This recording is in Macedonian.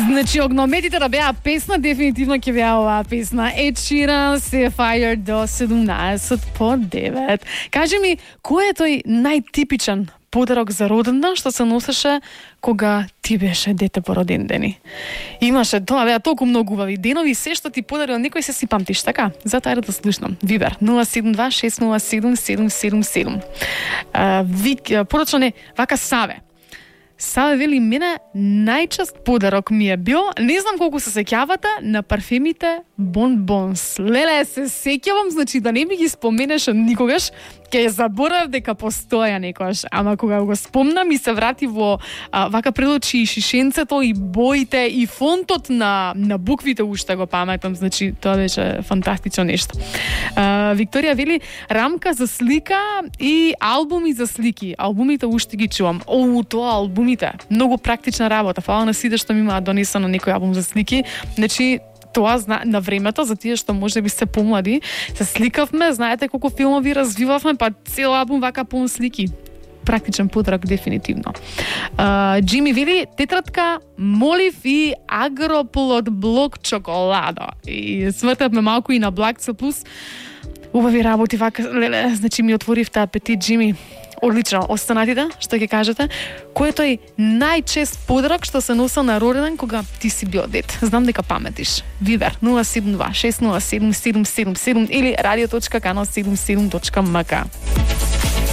Значи, огнометите да беа песна, дефинитивно ќе беа оваа песна. Ed Sheeran, Sapphire до 17 по 9. Кажи ми, кој е тој најтипичен подарок за родендан што се носеше кога ти беше дете по роден дени? Имаше, тоа беа толку многу убави денови, се што ти подарил некој се си памтиш, така? Затоа да слушнам. Вибер 072-607-777. Порочно не, вака Саве. Саве вели, мене најчест подарок ми е бил, не знам колку се сеќавате, на парфемите Bonbons. Леле, се сеќавам, значи да не ми ги споменеш никогаш, ќе заборав дека постоја некојаш, ама кога го спомнам и се врати во вака пред очи и шишенцето и боите и фонтот на буквите уште го паметам, значи тоа беше фантастично нешто. Викторија вели, рамка за слика и албуми за слики. Албумите уште ги чувам. Тоа албумите, многу практична работа. Фала на сите што ми имаат донесено некој албум за слики. Значи тоа на времето, за тие што може би се помлади, се сликавме, знаете колку филмови развивавме, па цел албум вака пун слики. Практичен подарок дефинитивно. Джими вели, тетрадка Молив и Агроплод блок чоколадо. И свртавме малку и на Black C+. Убави работи вака, леле, значи ми отворивте апетит, Джими. Одлично, останатите, што ќе кажете? Кој е тој најчест подарок што се носел на роденден кога ти си бил дет? Знам дека паметиш. Вибер 072-607-777 или radio.canal77.mk.